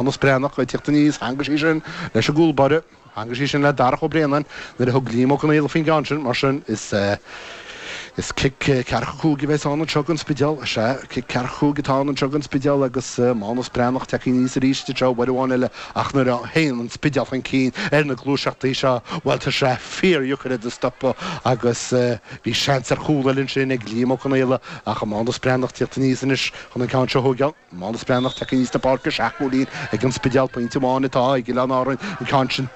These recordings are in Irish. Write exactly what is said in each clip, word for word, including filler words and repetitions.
Mánus Breathnach ag teacht aníos, theangaigh sí sin leis an gcúl báire, theangaigh sí sin le Darach Ó Braonáin nuair a thug Liam Ó Conaola faoin gceann sin, mar sin is is cic ceathracha cúig a bheas ann anseo don Spidéal. Sea, cic ceathracha cúig atá ann anseo don Spidéal agus Mánus Breathnach tagtha aníos arís anseo uair amháin eile ach nuair a théann an Spidéal chun cinn ar na gluaiseachtaí seo, bhuel tá sé fíordheacair iad a stopadh agus bhí seans ar chúl eile ansin ag Liam Ó Conaola ach Mánus Breathnach tíocht aníos anois chun an ceann seo a thógáil. Mánus Breathnach tagtha aníos na páirce, seacht gcúilín ag an Spidéal, pointe amháin atá ag Oileáin Árann, an ceann sin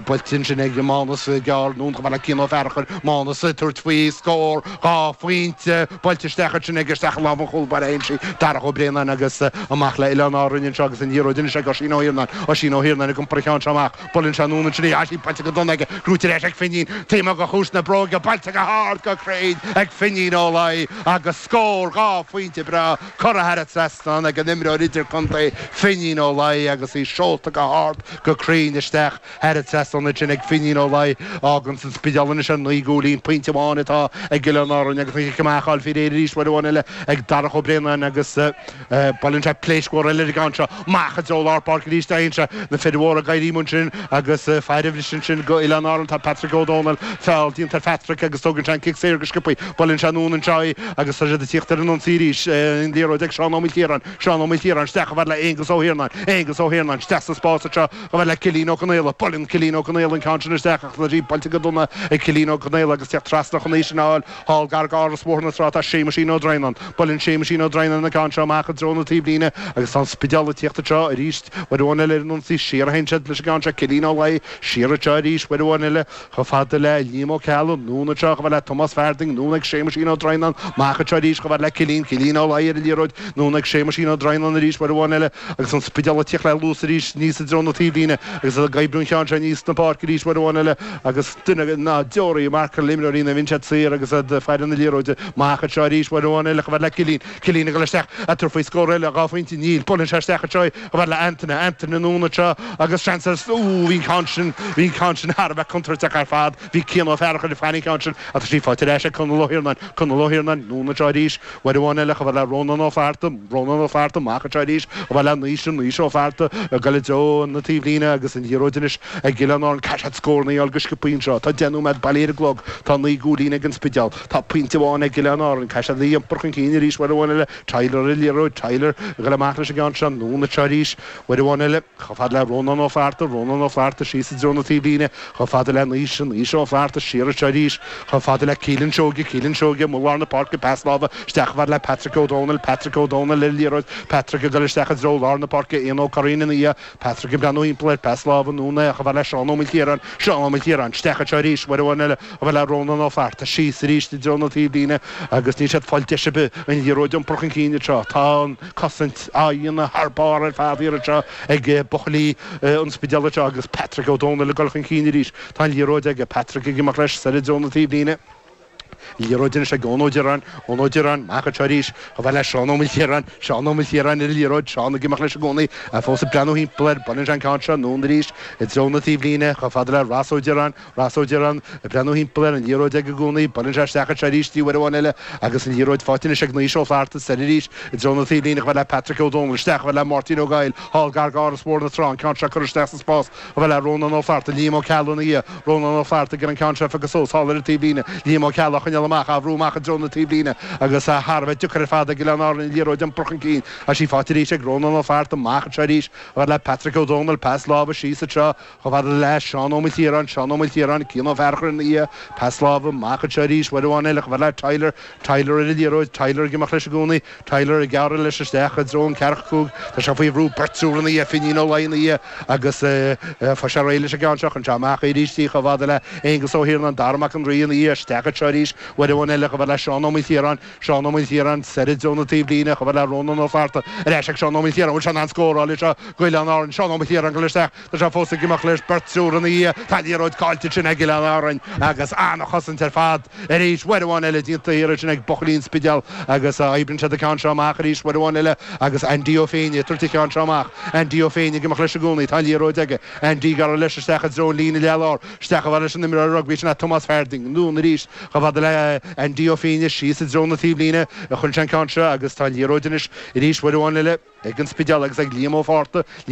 buailte ansin ag Mánus gearr anonn chomh fada le Cian Ó Fearchair, Mánus ag tabhairt faoi scór dhá phointe, buailte isteach ansin aige isteach i lámh an chúl báire a théann sí, Darach Ó Braonáin agus amach le Oileáin Árann anseo agus an liathróid anois ag Oisín Ó hIarnáin, Oisín Ó Hiarnáin ag iompar an cheann seo amach, buaileann sé anonn ansin í, tá sí buailte go dona aige, gnóite ar ais ag Finín, taobh amuigh de chuas na bróige, buailte go hard go cruinn ag Finín Ó Laoi agus scór dhá phointe breá. Curtha thar an trasnán ag an imreoir idirchontae Finín Ó Laoi agus í seolta go hard go cruinn isteach thar an trasnán ansin ag Finín Ó Laoi. Fháganns an Spidéal anois ar naoi gcúilín, pointe amháin atá ag Oileáin Árann agus an chic amach á fháil faoi réir arís uair amháin eile ag Darach Ó Braonáin agus buaileann sé pléasc mhór eile ar an gceann seo. Amach i dtreo lár páirce arís a théann sé. Na fir mhóra ag éirí ansin agus fear a bhris ansin go Oileáin Árann tá Patrick Ó Dónaill. Feall déanta ar Phatrick agus tógann sé an cic saor go sciobtha. Buaileann sé anonn anseo í agus tá siad ag tíocht ar an ionsaí arís. An liathróid ag Seán Ó Maoilchiaráin, Seán Ó Maoilchiaráin isteach chomh fada le Aonghus Ó hIarnáin, Aonghus Ó hIarnáin isteach sa spás anseo chomh fada le Cillian Ó Conaola. Buaileann Cillian Ó Conaola an ceann sin isteach ach tá sí buailte go dona ag Cillian Ó Conaola agus teacht trasna chun í sin a fháil thall gar d'Áras Bhóthar na Trá tá Séamuisín Ó Droighneáin. Buaileann Séamuisín Ó Droighneáin an ceann seo amach i dtreo na taobhlíne agus tá an Spidéal ag tíocht anseo arís uair amháin eile ar an ionsaí. Siar a théann siad leis an gceann seo, Cillian Ó Laoi siar anseo arís uair amháin eile. Chomh fada le Liam Ó Ceallaigh, anonn anseo chomh fada le Tomás Farding, anonn ag Séamuisín Ó Droighneáin, amach anseo arís chomh fada le Cillian, Cillian Ó Laoi ar an liathróid, anonn ag Séamuisín Ó Droighneáin arís uair amháin eile agus an Spidéal ag tíocht le luas arís aníos i dtreo na taobhlíne agus ag oibriú an cheann seo aníos na páirce arís uair amháin eile agus duine ná deoraí ag marcáil imreoirí nuair a bhíonn siad saor agus iad ag faire na liathróide. Amach anseo arís uair amháin eile chomh fada le Cillian, Cillian ag dul isteach ag tabhairt faoi scór eile, dhá phointe, níl, buaileann sé isteach anseo í chomh fada le Antaine, Antaine anonn anseo agus seans ar, ooh, bhí an ceann sin, bhí an ceann sin thar a bheith contúirteach ar fad. Bhí Cian Ó Fearchair ag faire an cheann sin ach tá sí faighte ar ais ag Conall Ó hIarnáin, Conall Ó hIarnáin, anonn anseo arís, uair amháin eile chomh fada le Rónán Ó Flatharta, Rónán Ó Flatharta, amach anseo arís chomh fada le Naoise, Naoise Ó Flatharta ag dul i dtreo na taobhlíne agus an liathróid anois ag Oileáin Árann. Caithfidh siad scóranna a fháil go sciobtha anseo. Tá deich nóiméad bailithe ar an gclog. Tá naoi gcúilín ag an Spidéal. Tá pointe amháin ag Oileáin Árann. Caithfidh siad a iompar chun cinn arís uair amháin eile. Tyler ar an liathróid, Tyler ag dul amach leis an gceann seo, anonn anseo arís uair amháin eile. Chomh fada le Rónán Ó Flatharta, Rónán Ó Flatharta síos i dtreo na taobhlíne, chomh fada le Naoise, Naoise Ó Flatharta siar anseo arís, chomh fada le Keelan Seoige, Keelan Seoige amuigh lár na páirce, pas láimhe isteach chomh fada le Patrick Ó Dónaill, Patrick Ó Dónaill ar an liathróid, Patrick ag dul isteach i dtreo lár na páirce, Ian Ó Curraoin ina dhiaidh, Patrick ag breathnú thimpeall air, pas láimhe anonn é chomh fada le Seán Ó Maoilchiaráin, Seán Ó Maoilchiaráin isteach anseo arís, uair amháin eile, chomh fada le Rónán Ó Flatharta, síos arís i dtreo na taobhlíne agus níl siad ag fáil deis ar bith an liathróid a iompar chun cinn anseo. Tá an cosaint á dhéanamh thar barr ar fad thiar anseo ag buachaillí an Spidéil anseo agus Patrick Ó Dónaill ag dul chun cinn arís. Tá an liathróid aige, Patrick ag imeacht leis soir i dtreo na taobhlíne. Liathróid anois ag Eoin Ó Direáin, Eoin Ó Direáin, amach anseo arís, chomh fada le Seán Ó Maoilchiaráin, Seán Ó Maoilchiaráin ar an liathróid, Seán ag imeacht leis i gcónaí, é fós ag breathnú thimpeall air, baineann sé an ceann seo anonn arís i dtreo na taobhlíne, chomh fada le Ross Ó Direáin, Ross Ó Direáin ag breathnú thimpeall air, an liathróid aige i gcónaí, buaileann sé isteach anseo arís í uair amháin eile agus an liathróid faighte anois ag Naoise Ó Flatharta, soir arís i dtreo na taobhlíne chomh fada le Patrick Ó Dónaill, isteach chomh fada le Máirtín Ó Gabhaill, thall gar d'Áras Bhóthar na Trá, an ceann seo curtha isteach sa spás chomh fada le Rónán Ó Flatharta, Liam Ó Ceallaigh ina dhiaidh, Rónán Ó Flatharta ag iarraidh an ceann seo a phiocadh suas thall ar an taobhlíne, Liam Ó Ceallaigh á choinneáil amach, á bhrú amach i dtreo na taobhlíne agus thar a bheith deacair ar fad ag Oileáin Árann an liathróid a iompar chun cinn. Tá sí faighte arís ag Rónán Ó Flatharta, amach anseo arís chomh fada le Patrick Ó Dónaill, pas láimhe síos anseo Chomh fada le Seán Ó Maoilchiaráin, Seán Ó Maoilchiaráin, Cian Ó Fearchair ina dhiaidh, pas láimhe amach anseo arís, uair amháin eile, chomh fada le Tyler, Tyler ar an liathróid, Tyler ag imeacht leis i gcónaí, Tyler ag gearradh leis isteach i dtreo an ceathracha cúig, tá sé faoi bhrú, beirt triúr ina dhiaidh, Finín Ó Laoi ina dhiaidh agus fuair sé réidh leis an gceann seo, chuir sé amach é arís í chomh fada le Aonghus Ó hIarnáin, Dara Mac an Rí ina dhiaidh, isteach anseo arís, uair amháin eile, chomh fada le Seán Ó Maoilchiaráin, Seán Ó Maoilchiaráin, soir i dtreo na taobhlíne, chomh fada le Rónán Ó Flatharta, ar ais ag Seán Ó Maoilchiaráin, bhfuil sé in ann scóráil anseo d'Oileáin Árann, Seán Ó Maoilchiaráin ag dul isteach. Tá sé fós ag imeacht leis, beirt triúr ina dhiaidh. Tá an liathróid caillte ansin ag Oileáin Árainn agus an-chosaint ar fad arís uair amháin eile déanta thiar ansin ag buachaillí an Spidéil agus oibríonn siad an ceann seo amach arís uair amháin eile agus Andy Ó Féinne ag tabhairt an cheann seo amach. Andy Ó Féinne ag imeacht leis i gcónaí. Tá an liathróid aige. Andy ag gearradh leis isteach i dtreo an líne leath-lár. Isteach chomh fada leis an imreoir rugbaí sin é Tomás Farding. Anonn arís chomh fada le Andy Ó Fíne síos i dtreo na taobhlíne a chuir sé an ceann seo agus tá liathróid anois arís uair amháin eile ag an Spidéal agus ag Liam Ó Fátharta. Liam